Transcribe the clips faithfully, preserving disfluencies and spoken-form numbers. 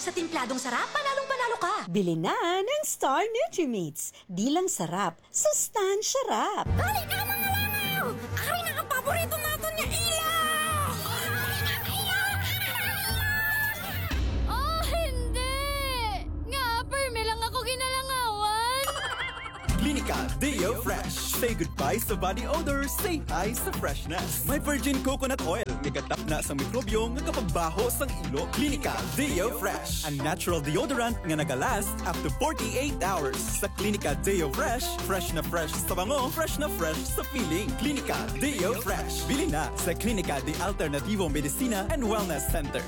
Sa timpladong sarap, panalong panalo ka. Bili na ng Star Nutrimates. Di lang sarap, sustansya rap. Dali na, mga langaw! Ari na ang paborito naton nga ilaw! Oh, hindi! Nga, permi lang ako ginalangawan. Klinika Deo Fresh. Say goodbye sa body odor, say hi sa freshness. May virgin coconut oil, nga gatapna sa mikrobyo nga kapagbaho sang ilo. Klinika Deo Fresh, ang natural deodorant nga nagalast after forty-eight hours. Sa Klinika Deo Fresh, fresh na fresh sa bango, fresh na fresh sa feeling. Klinika Deo Fresh. Bili na sa Klinika de Alternativo Medicina and Wellness Center.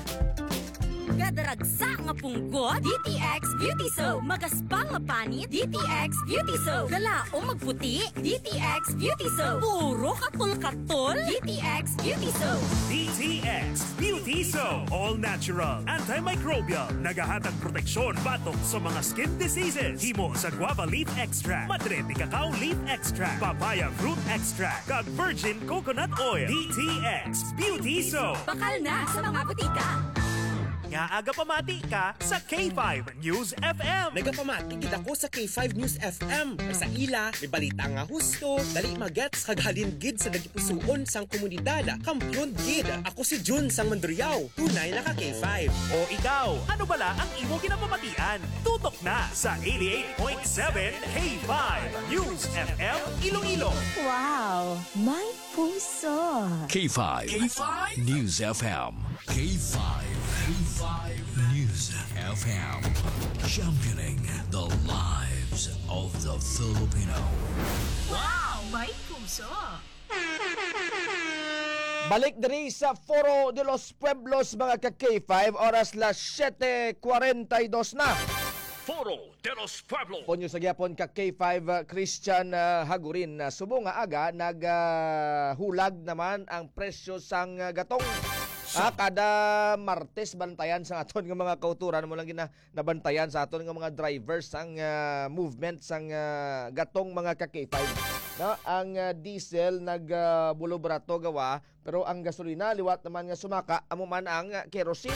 Gadaragsa nga punggot, D T X Beauty Soap. Magaspang nga panit, D T X Beauty Soap. Galaom magputi, D T X Beauty Soap. Puro katol-katol, D T X Beauty Soap. D T X Beauty Soap. All natural, antimicrobial. Nagahatag proteksyon batok sa mga skin diseases. Himo sa guava leaf extract, madre de cacao leaf extract, papaya fruit extract, kag virgin coconut oil. D T X Beauty Soap. Bakal na sa mga butika. Nga aga pamati ka sa K five News F M. Nagapamati gid ako sa K five News F M. Sa ila, may balita nga husto, dali magets, kag halin gid sa dagipusuon sang komunidad. Kampiyon gid. Ako si Jun sang Mandurriao. Tunay na ka K five. O ikaw, ano bala ang imo ginapamatian? Tutok na sa eighty-eight point seven K five News F M Iloilo. Wow, may puso. K five K five News F M. K five, K five News F M. Championing the lives of the Filipino. Wow, may puso. Balik diri sa Foro de los Pueblos, mga ka K five, oras las siete cuarenta y dos na. Foro de los Pueblos. Ponyo sa gyapon ka K five, uh, Christian, uh, Hagurin. Uh, subong nga aga, nag, uh, hulag naman ang presyo sang, uh, gatong. Ah, kada Martes, bantayan sa aton nga mga kauturan mo lang gina-, nabantayan sa aton nga mga drivers ang, ah, movement sang, ah, gatong mga ka K five. No, ang, ah, diesel nag, ah, bulo barato gawa, pero ang gasolina liwat naman nga sumaka, amo man ang, ah, kerosene.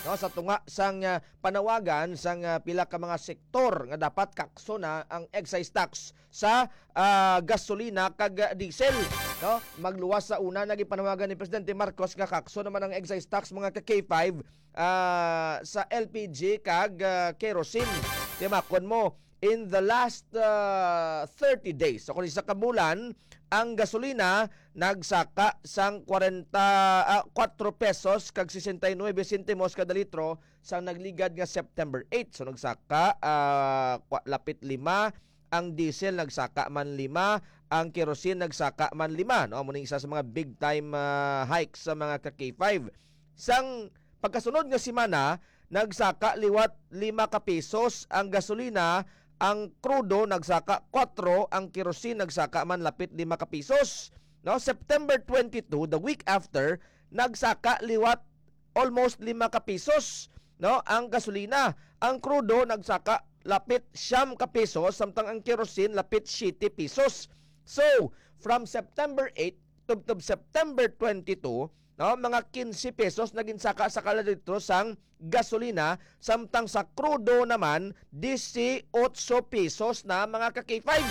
No, sa tunga sang, ah, panawagan sang, ah, pila ka mga sektor nga dapat kakso na ang excise tax sa, ah, gasolina kag, ah, diesel, no? Magluwas sa una, nagipanawagan ni Presidente Marcos nga kakso naman ang excise tax, mga ka K five, ah, sa L P G kag, ah, kerosene. Timakon mo, in the last, ah, thirty days, o kung isa ka bulan, ang gasolina nagsaka sang kwarenta, ah, kuwatro pesos kag sesenta y nuebe sentimos kada litro, sang nagligad nga September eight. So, nagsaka, ah, kwa-, lapit lima, ang diesel nagsaka man lima, ang kerosene nagsaka man lima, no? Amo ning isa sa mga big time, ah, hike sa mga ka K five. Sang pagkasunod nga semana, nagsaka liwat lima ka pesos ang gasolina, ang krudo nagsaka kuwatro, ang kerosene nagsaka man lapit lima ka pesos. No, September twenty-two, the week after, nagsaka liwat almost lima ka pesos, no, ang gasolina. Ang krudo nagsaka lapit siyam ka pesos, samtang ang kerosene lapit siyete pesos. So, from September eight tubtob September twenty-two, no, mga quince pesos na ginsaka sa kada litro sang gasolina, samtang sa krudo naman, dieciocho pesos na, mga ka K five.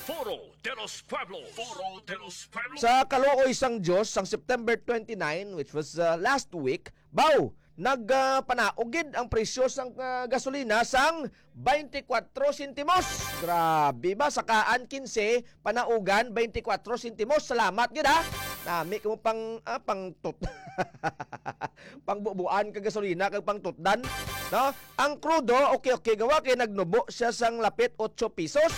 Foro de los Pueblos. Foro de los Pueblos. Sa kaluoy sang Dios, sang September twenty-nine, which was, uh, last week, baw, nag, ah, panaog gid ang presyo sang, ah, gasolina sang twenty-four sentimos. Grabe ba? Sakaan quince, panaugan twenty-four sentimos. Salamat gid, ha. Nami kamo pang, ah, pang tut-, pangbubuan kag gasolina kag pangtutdan, no? Ang krudo, okay, okay, gawa kay nagnubo siya sang lapit ocho pesos.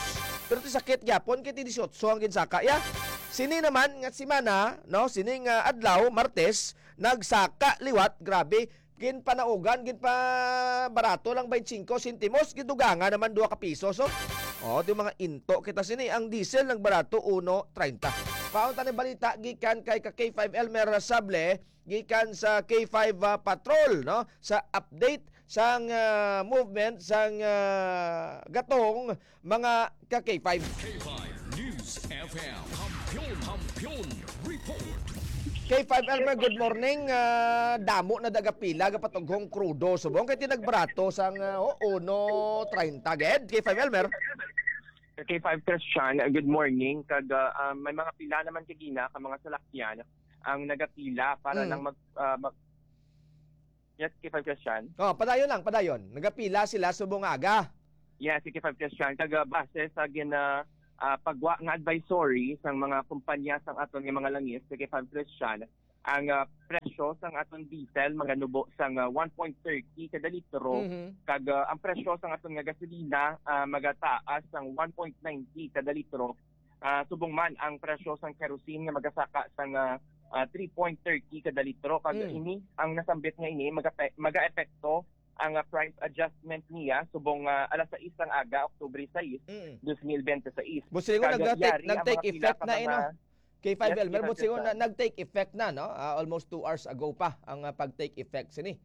Pero ti sakit gyapon kay ti dieciocho ang ginsaka ya. Sini naman nga semana, no, sini nga adlaw, Martes, nagsaka liwat, grabe, ginpanaugan, ginpabarato lang twenty-five sentimos, gidugangan naman duha ka piso. So, oh, di mga into kita sini, ang diesel nagbarato uno treinta. Paon ta ni balita gikan kay ka K five Elmer Sable, gikan sa K five, ah, Patrol, no? Sa update sang, ah, movement sang, ah, gatong mga ka K five. K five News F M. Kampiyon, Kampiyon Report. K five Elmer, good morning. Ah, damo na nagapila gapatughong krudo subong kay tinagbarato sang, ah, oh, uno treinta gid. K five Elmer. K five Christian, uh, good morning. Kag, uh, um, may mga pila naman kagina ka mga salakyan ang nagapila para Mm. lang mag, uh, mag-, yes, K five Christian. Oh, padayon lang, padayon. Nagapila sila subong aga. Yes, K five Christian. Kag, uh, base sa gina, uh, pagwa nga advisory sang mga kumpanya sang aton nga mga langis, K five Christian, ang, ah, presyo sang aton diesel maganubo sang, ah, one point thirty kada litro, Mhm. kag, ah, ang presyo sang aton nga gasolina, ah, magataas sang one point ninety kada litro. Ah, subong man ang presyo sang kerosene nga magasaka sang, ah, ah, three point thirty kada litro, kag Mm. ini ang nasambit nga ini magape-, magaepekto ang, ah, price adjustment niya subong, ah, alas sais sang aga, Oktubre sais, Mm. dos mil bente sais. Busingon Kag nag-take, yari ang nag-take mga pila effect ka na, eh, no? mga K five Yes, Elmer, K five busingon na, Christian. Nag-take effect na, no? Ah, almost two hours ago pa ang, ah, pag-take effect sini.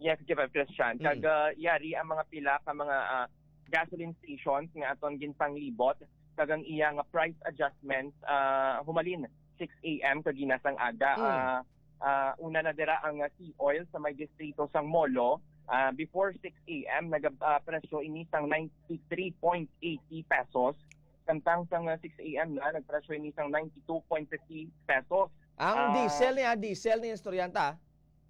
Yes, K five Christian. Mm. Kag, ah, yari ang mga pila ka mga, ah, gasoline stations nga aton ginpanglibot, kag ang iya nga price adjustment, ah, humalin six a m kagina sang aga. Mm. Ah, ah, una na dira ang, ah, Sea Oil sa may distrito sang Molo. Ah, before six a m, nag-, ah, presyo ini sang ninety-three point eighty pesos. Samtang sang, ah, six a m na, nagpresyo ini sang ninety-two point fifty pesos. Ang Ah, diesel niya, diesel ni estudyanta?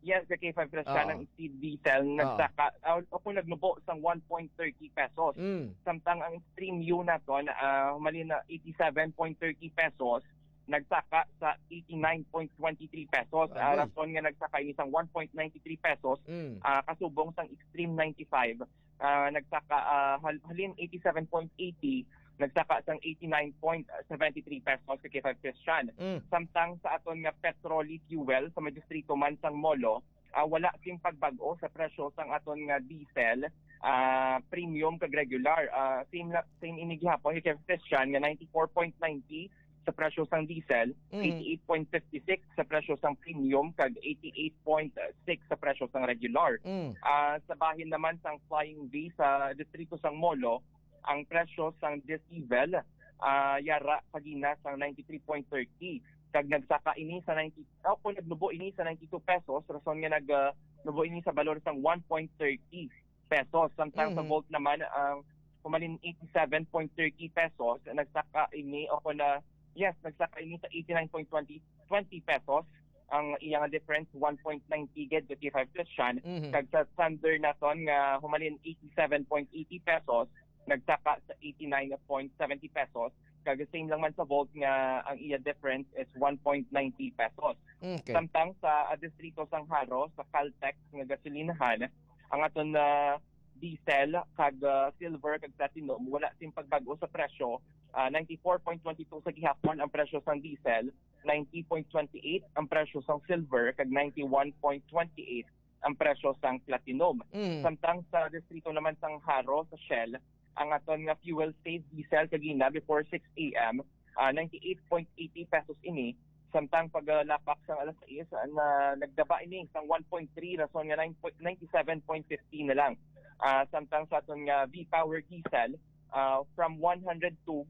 Yes, ka K five Christian, Oo. ang diesel Oo. nagsaka, ah, o kung nagnubo sang one point thirty pesos. Mm. Samtang ang Premium naton, ah, humalin na eighty-seven point thirty pesos, nagsaka sa eighty-nine point twenty-three pesos. Ah, Agoy. rason nga nagsaka ini sang one point ninety-three pesos, Mm. ah, kasubong sang Extreme ninety-five, ah, nagsaka, ah, hal-, halin eighty-seven point eighty, nagsaka sang eighty-nine point seventy-three pesos ka K five Christian. Mm. Samtang sa aton nga petrol fuel sa may distrito man sang Molo, ah, wala sing pagbag-o sa presyo sang aton nga diesel, ah, premium kag regular. Ah, same la-, same ini gihapon kay Christian nga ninety-four point ninety sa presyo sang diesel, Mm. eighty-eight point fifty-six sa presyo sang premium, kag eighty-eight point six sa presyo sang regular. Mm. Ah, sa bahin naman sang Flying V sa distrito sang Molo, ang presyo sang diesel, ah, yara kagina sang ninety-three point thirty, kag nagsaka ini sa ninety, oh, kung nagnubo ini sa ninety-two pesos, rason nga nag, ah, nubo ini sa balor sang one point thirty pesos. Samtang sa Mhm. Volt naman, ang humalin eighty-seven point thirty pesos, nagsaka ini, o kung na, yes, nagsaka ini sa eighty-nine point twenty, twenty pesos. Ang iya nga difference, one point ninety gid, fifty-five Christian. Mhm. Kag sa Thunder naton nga humalin eighty-seven point eighty pesos, nagsaka sa eighty-nine point seventy pesos. Kag same lang man sa Volt nga ang iya difference is one point ninety pesos. Okay. Samtang sa, ah, distrito sang Jaro, sa Caltex nga gasolinahan, ang aton, ah, diesel kag, ah, silver kag platinum wala sing pagbag-o sa presyo. Ah, ninety-four point twenty-two sa gihapon ang presyo sang diesel, ninety point twenty-eight ang presyo sang silver, kag ninety-one point twenty-eight ang presyo sang platinum. Mm. Samtang sa distrito naman sang Jaro, sa Shell, ang aton nga fuel save diesel kagina before six a m, ah, ninety-eight point eighty pesos ini. Samtang paglapak sang alas sais, ah, na nagdaba ini sang one point three, rason nga nine point, ninety-seven point fifty na lang. Ah, samtang sa aton nga V-Power diesel, ah, from one hundred two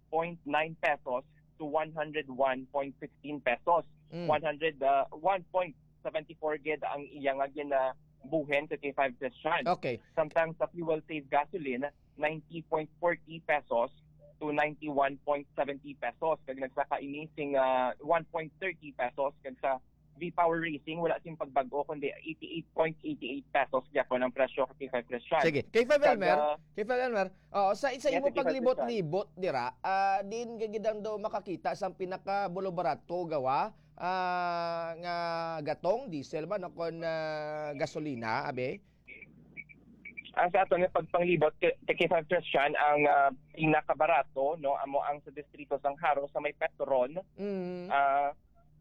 point nine pesos to one hundred one point sixteen pesos. Mm. One hundred, ah, one point seventy-four gid ang iya nga ginabuhin sa K five Christian. Okay. Samtang sa fuel save gasoline, ninety point forty pesos to ninety-one point seventy pesos. Kag nagsaka ini sing, ah, one point thirty pesos. Kag sa V-Power Racing, wala sing pagbag-o, kundi eighty-eight point eighty-eight pesos gyapon ang presyo ka K five Christian. Sige. K five Kag, Elmer, ah, K five Elmer, oo, sa, sa Yes, imo K five Christian. paglibot-libot dira, ah, diin ka gid ang daw makakita sang pinakabulobarato gawa, ah, nga gatong, diesel man o kon, ah, gasolina, abi? Ah, sa aton nga pagpanglibot, K-, K five Christian, ang, ah, pinakabarato, no, amo ang sa distrito sang Jaro sa may Petron. Mm. Ah,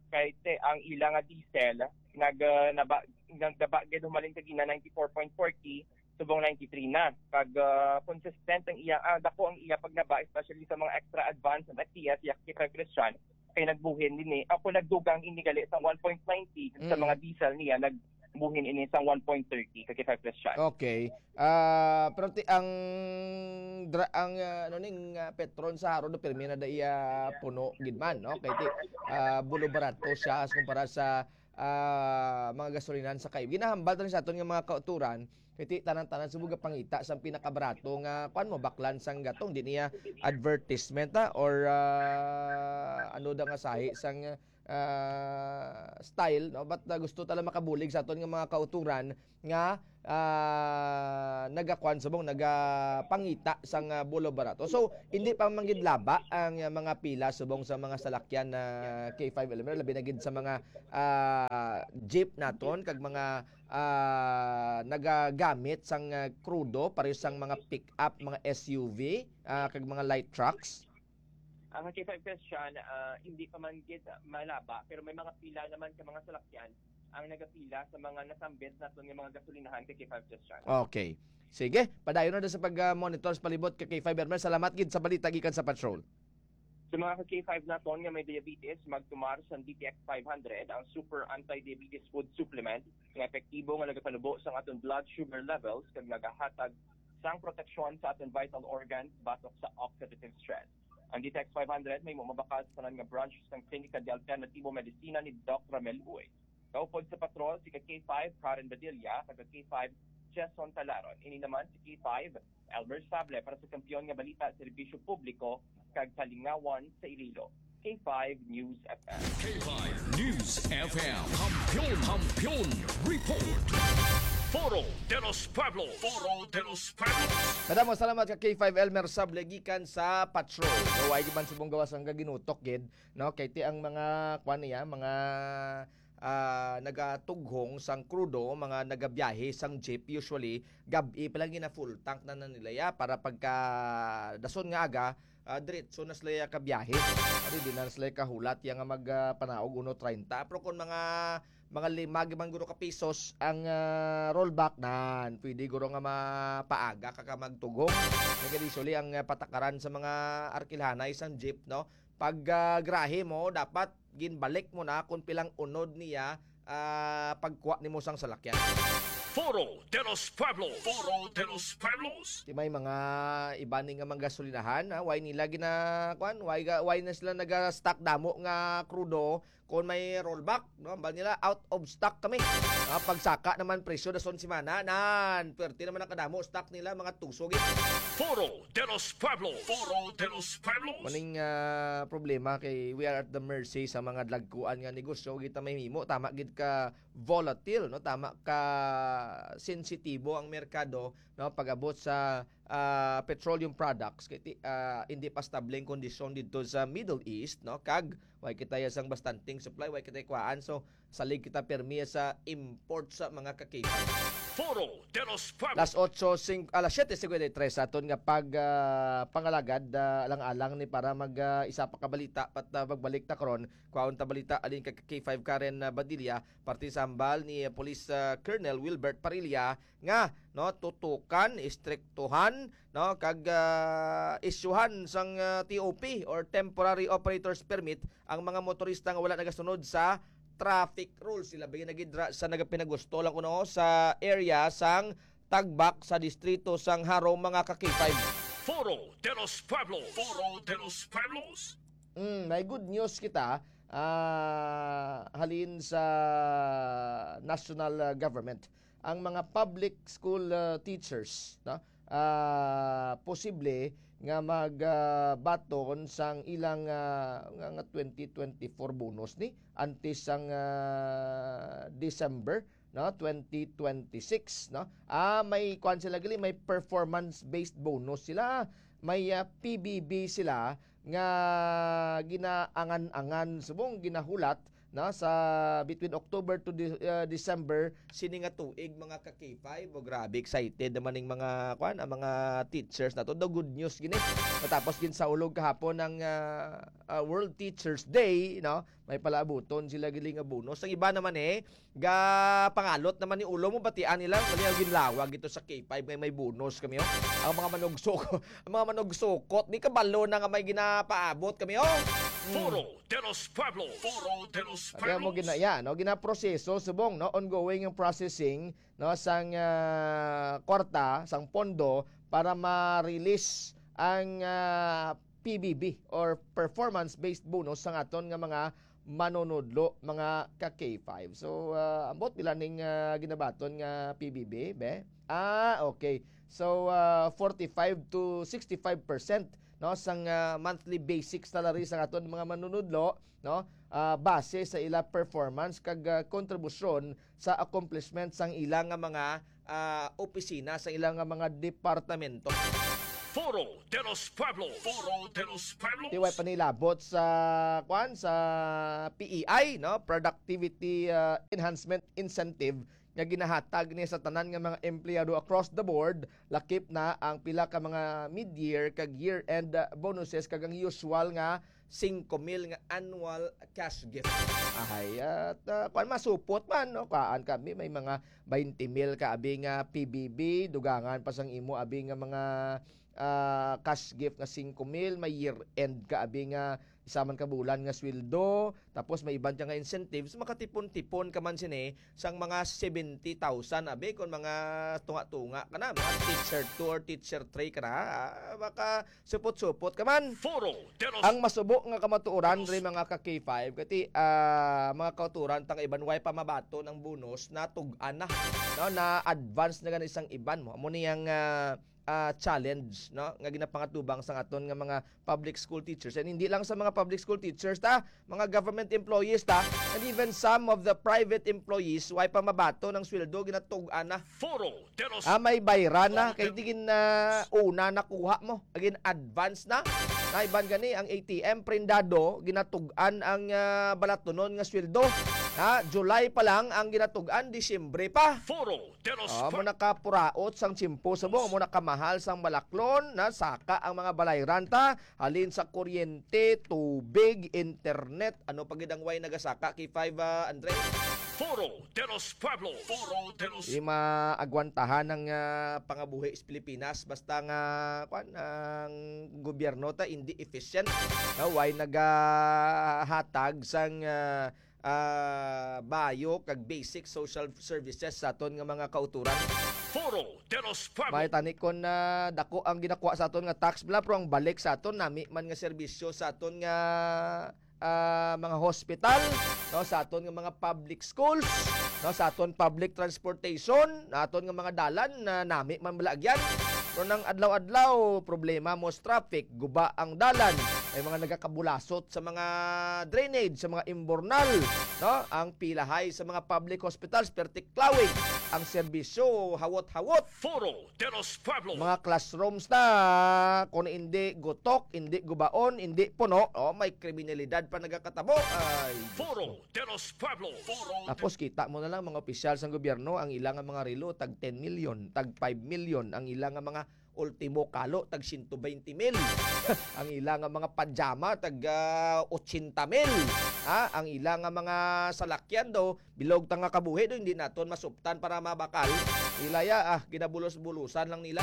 kay te, ang ila nga diesel, nag, ah, naba-, nagdaba gid humalin kagina ninety-four point forty, subong ninety-three na. Kag, ah, consistent ang iya, ah, dako ang iya pagnaba, especially sa mga extra advance and F T S, yak K five Christian, kay nagbuhin din eh. Ako nagdugang ini gali sa one point ninety sa Mm. mga diesel niya, nag, Buhin ini sang one point thirty ka K five Plus Chan. Okay. Ah, pero ti ang dra ang, ah, ano ning, ah, Petron sa Haro do pirmi na da iya puno gid man, no? Kay ti, ah, bulo barato siya as kumpara sa, ah, mga gasolinahan sa kay ginahambal ta ni sa aton nga mga kauturan, kay ti tanan-tanan subong gapangita sang pinakabarato nga kuan mo baklan sang gatong di niya advertisement, ah, or, ah, ano da nga sahi sang, ah, style, no? But, ah, gusto ta lang makabulig sa aton nga mga kauturan nga, ah, nagakuan subong, nagapangita sang, ah, bulo barato. So, hindi pa man gid laba ang, ah, mga pila subong sa mga salakyan na K five Elmer, labi na gid sa mga, ah, jeep naton kag mga, ah, nagagamit sang, ah, krudo, pareho sang mga pick-up, mga S U V, ah, kag mga light trucks. Ang K five Plus Chan, ah, hindi pa man gid malaba, pero may mga pila naman ka mga salakyan ang nagapila sa mga nasambit naton nga mga gasolinahan kay K five Plus Chan. Okay. Sige, padayon na sa pag-monitor sa palibot ka K five Elmer. Salamat gid sa balita gikan sa patrol. Sa mga ka K five naton nga may diabetes, magtumar sa D T X five hundred, ang super anti-diabetes food supplement nga epektibo nga nagapanubo sang aton blood sugar levels kag nagahatag sang proteksyon sa aton vital organs batok sa oxidative stress. Ang D T X five hundred may mabakal sa tanan nga branch sang Klinika de Alternativo Medicina ni Doc Ramel Uy. Kaupod sa patrol, si ka K five Karen Badilla, kag ka K five Jason Talaron. Ini naman si K five Elmer Sable para sa Kampiyon nga Balita, Serbisyo Publiko, kag Kalingawan sa Iloilo. K five News F M. K five News F M. Kampiyon, Kampiyon Report. Foro de los Pueblos. Foro de los Pueblos. Madamo salamat ka K five Elmer Sable gikan sa patrol. Way man subong gawas ang gaginutok gid, no? Kay ti ang mga kuan niya, mga, ah, nagatughong sang krudo, mga nagabiyahe sang jeep, usually gab-i pa lang gina full tank na, na nila ya para pagka dason nga aga, ah, diretso na sila ya kabiyahe. Ari di na sila kahulat ya nga mag, ah, panaog uno treinta. Pero kung mga, mga lima man guro ka pesos ang, ah, rollback, nan pwede guro nga mapaaga ka, ka magtughong. Kaya usually ang, ah, patakaran sa mga arkilhanay sang jeep, no? Pag, ah, grahe mo, dapat ginbalik mo na kung pilang unod niya, ah, pagkuha nimo sang salakyan. Foro de los Pueblos. Foro de los Pueblos. Ti may mga iba ni nga mga gasolinahan, ha? Why nila gina-, kuan? Why ga-, why na sila naga-stock damo nga krudo kung may rollback, no? Ambal nila, "Out of stock kami." Ah, pagsaka naman presyo dason semana, nan, pwerte naman ang kadamo stock nila, mga tuso gid. Foro de los Pueblos. Foro de los Pueblos. Maning, ah, problema kay we are at the mercy sa mga dagkuan nga negosyo. Kita may himo, tama gid ka volatile, no? Tama ka sensitibo ang merkado, no? Pag-abot sa, ah, petroleum products, kay ti-, ah, hindi pa stable ang kondisyon dito sa Middle East, no? Kag way kita ya sang bastanteng supply, way kita kuhaan. So, salig kita permi sa import sa mga kakitan. Foro de los Pueblos. Las otso sing-, alas siyete cincuenta y tres aton nga pag, ah, pangalagad, ah, alang-alang ni para mag, ah, isa pa ka balita pat, ah, magbalik ta karon. Kwaon ta balita alin ka K five Karen, ah, Badilla, parte sa hambal ni, ah, Police, ah, Colonel Wilbert Parilla nga, no, tutukan, istriktuhan, no, kag, ah, isyuhan sang, ah, T O P or temporary operator's permit ang mga motorista nga wala nagasunod sa traffic rules. Sila ba na gid ra sa nagapinagusto lang kuno sa area sang Tagbak sa distrito sang Jaro, mga ka-K five. Foro de los Pueblos. Foro de los Pueblos. Mm, may good news kita, ah, halin sa national, ah, government. Ang mga public school, ah, teachers, no? Ah, posible nga mag, ah, baton sang ilang, ah, nga, nga twenty twenty-four bonus ni antes sang, ah, December, no, twenty twenty-six, no? Ah, may kuan sila gali, may performance-based bonus sila, may, ah, P B B sila nga ginaangan-angan, subong ginahulat, no, sa between October to De-, ah, December sini nga tuig, mga ka-K five. O, grabe, excited naman ning mga, kuan, ang mga teachers nato. The good news gini. Matapos ginsaulog kahapon ang, ah, ah, World Teachers Day, no? May palaabuton sila gid nga bonus. Ang iba naman, eh, ga pangalot naman ni ulo mo, batian nila, mali ang ginlawag ito sa K five, may, may bonus kami, oh. Ang mga manugsok, ang mga manugsukot, di kabalo na nga may ginapaabot kami, oh. Mm. Foro de los Pueblos. Foro de los Pueblos. Kaya mo gina-, yan, no? Ginaproseso, subong, no? Ongoing yung processing, no? Sang, ah, kwarta, sang pondo para ma-release ang, ah, P B B or performance-based bonus sang aton nga mga manunudlo, mga ka K five. So, ah, ambot pila ning, ah, ginabaton nga P B B, be? Ah, okay. So, ah, forty-five to sixty-five percent, no, sang, ah, monthly basic salary sang aton mga manunudlo, no, ah, base sa ila performance kag, ah, kontribusyon sa accomplishment sang ila nga mga, ah, opisina, sa ila nga mga departamento. Foro de los Pueblos. Foro de los Pueblos. Di way pa nilabot sa, kwan, sa P E I, no? Productivity, ah, Enhancement Incentive nga ginahatag ni sa tanan nga mga empleyado across the board, lakip na ang pila ka mga mid-year kag year-end, ah, bonuses kag ang usual nga singko mil nga annual cash gift. Ahay, at, ah, kwan, masupot man, no? Kaan kami, may mga twenty mil ka abi nga P B B, dugangan pa sang imo abi nga mga, ah, cash gift nga singko mil, may year-end ka abi nga isa man ka bulan nga sweldo, tapos may iban ka nga incentives, makatipon-tipon ka man sini sang mga seventy thousand, abi, kung mga tunga-tunga ka na, mga teacher two or teacher three ka na, ah, maka supot-supot ka man. Foro de los Ang masubo nga kamatuoran Los diri, mga ka K five, kati, ah, mga kauturan, tang iban way pa mabaton ang bonus, natug-an na, no? Na-advance na gani sang iban mo. Amo ni ang, ah, ah, challenge, no, nga ginapangatubang sang aton nga mga public school teachers. And hindi lang sa mga public school teachers, ta, mga government employees, ta, and even some of the private employees, way pa mabaton ang sweldo, ginatug-an na. Foro de los Ah, may bayran na. Kay Order. Di gin, ah, una nakuha mo. Gin advance na. Na iban gani ang A T M, prendado, ginatug-an ang, ah, balatunon nga sweldo. Ha? July pa lang ang ginatug-an, Disyembre pa. Foro de los Ah, mo Pueblos. Nakapuraot sang tiyempo, subong, mo nakamahal sang balaklon, na saka ang mga balayran ta, halin sa kuryente, tubig, internet, ano pa gid ang way nagasaka, K five, ah, Andre? Foro de los Pueblos. Foro de los Di maagwantahan ang, ah, pangabuhi sa Pilipinas basta nga, kwan, ang gobyerno ta hindi efficient. No, way nagahatag sang, ah, ah, bayo kag basic social services sa aton nga mga kauturan. Foro de los Pueblos. May tani kon, ah, dako ang ginakuha sa aton nga tax bala, pero ang balik sa aton, nami man nga serbisyo sa aton nga, ah, mga hospital, no, sa aton nga mga public schools, no, sa aton public transportation, na aton nga mga dalan, na nami man bala agyan. Pero nang adlaw-adlaw, problema mo sa traffic, guba ang dalan, may mga nagakabulasot sa mga drainage, sa mga imbornal, no? Ang pilahay sa mga public hospitals, pertiklawig ang serbisyo, hawot-hawot. Foro de los Pueblos. Mga classrooms na, kung hindi gutok, hindi gubaon, hindi puno, oh, may kriminalidad pa nagakatabo. Ay, Diyos ko. Foro de los Pueblos. Foro de Tapos kita mo na lang mga opisyal sang gobyerno, ang ilang mga relo, tag ten million, tag five million, ang ilang mga ultimo kalo, tag siyento baynte mil. Ang ila nga mga pajama, tag, ah, otsenta mil. Ha? Ang ila nga mga salakyan daw, bilog ta nga kabuhi daw, hindi naton masuptan para mabakal. Ila ya, ah, ginabulos-bulusan lang nila.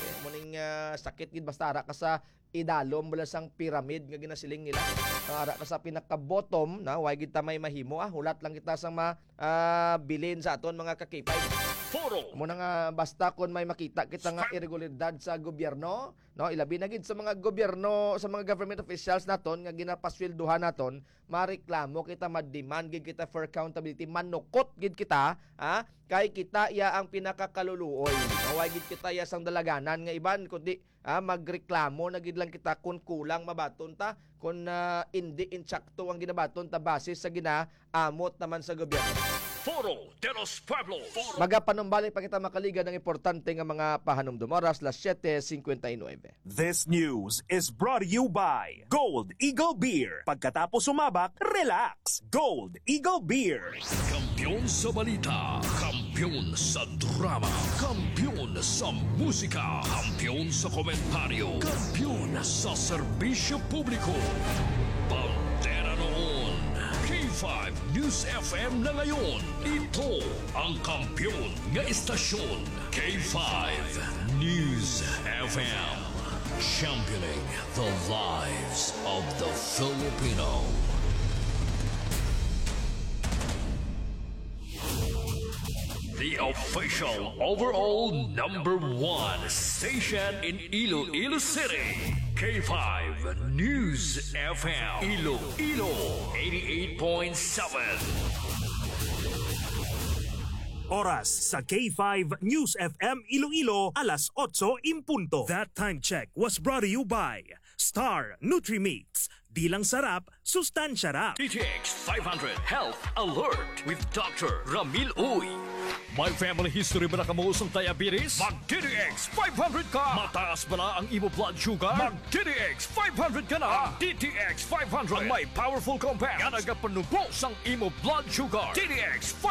Eh, muning, ah, sakit gid basta ara ka sa idalom bala sang pyramid nga ginasiling nila. Ang ara ka sa pinaka-bottom, na, way gid ta may mahimo, ah. Hulat lang kita sa ma-, ah, bilin sa aton mga ka-K five. Foro. Amo na nga, basta kon may makita kita nga Stop. Irregularidad sa gobyerno, no, ilabi na gid sa mga gobyerno, sa mga government officials naton nga ginapasweldohan naton, mareklamo kita, ma-demand gid kita for accountability, manukot gid kita, ha? Kay kita iya ang pinakakaluluoy. Way gid kita iya sang dalaganan nga iban, kundi ah, magreklamo na gid lang kita kun kulang mabaton ta, kun, ah, indi insakto ang ginabaton ta basis sa ginaamot naman sa gobyerno. Foro de los Pueblos. Magapanumbalik pa kita, mga kaaligan, ng importante nga mga pahanumdom. Oras, las siete cincuenta y nueve. This news is brought to you by Gold Eagle Beer. Pagkatapos sumabak, relax. Gold Eagle Beer. Kampiyon sa balita, kampiyon sa drama, kampiyon sa musika, kampiyon sa komentaryo, kampiyon sa serbisyo publiko. Bandera noon, K five News F M na ngayon. Ito ang kampiyon nga istasyon, K five News F M. Championing the lives of the Filipino. The official overall number one station in Iloilo City, K five News F M, Iloilo, eighty-eight point seven. Oras sa K five News F M Iloilo, alas otso in punto. That time check was brought to you by Star Nutrimix. Di lang sarap, sustansya rap. D T X five hundred Health Alert with Doctor Ramil Uy. May family history ba na kamo sang diabetes? Mag D T X five hundred ka! Mataas ba na ang imo blood sugar? Mag D T X five hundred ka na! Ang D T X five hundred ang may powerful compound nga nagapanubo sang imo blood sugar. D T X